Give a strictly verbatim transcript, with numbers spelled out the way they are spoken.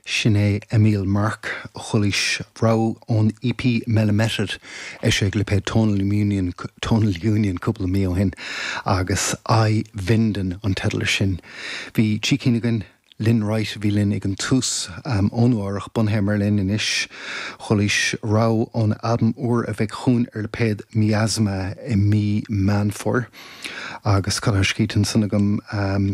Sin é Emil Mark chulis ra ón EP Melameted é sé lipéad Tonal Union Tonal Union cúpla mí ó shin agus I Vinden an teideal sin. Bhí trí cinn againn Lynn Wright bhí linn ag an tús um, ónuach bunaithe i mBerlin anois chulis ra ón albam úr a bheidh chugainn ar lipéad Miasma i mí Meán Fómhair agus cad scítan san agam um,